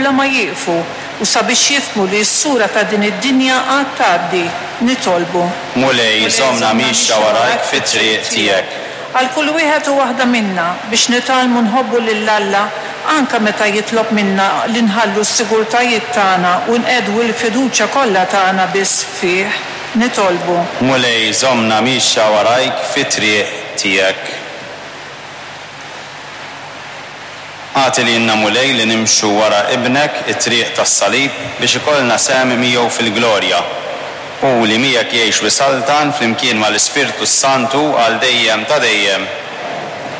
bla ma jieqfu u sabiex jifhmu li s-sura ta' din id-dinja għad tgħaddi. Nitolbu. Mulej, żommna miexja warajk fit-triq tiegħek. Għal kull wieħed u waħda minna biex nitgħallmu nħobbu lil Alla anke meta jitlob minna li nħallu s-sigurtajiet tagħna u nqiegħdu l-fiduċja kollha tagħna biss fih. Nitolbu. Mulej, żommna miexja warajk fit-triq tiegħek. Agħti lilna, Mulej, li nimxu wara Ibnek it-triq tas-salib biex ikollna sehem miegħu fil-glorja. Hu li miegħek jgħix u jsaltan flimkien mal-Ispirtu s-Santu għal dejjem ta' dejjem.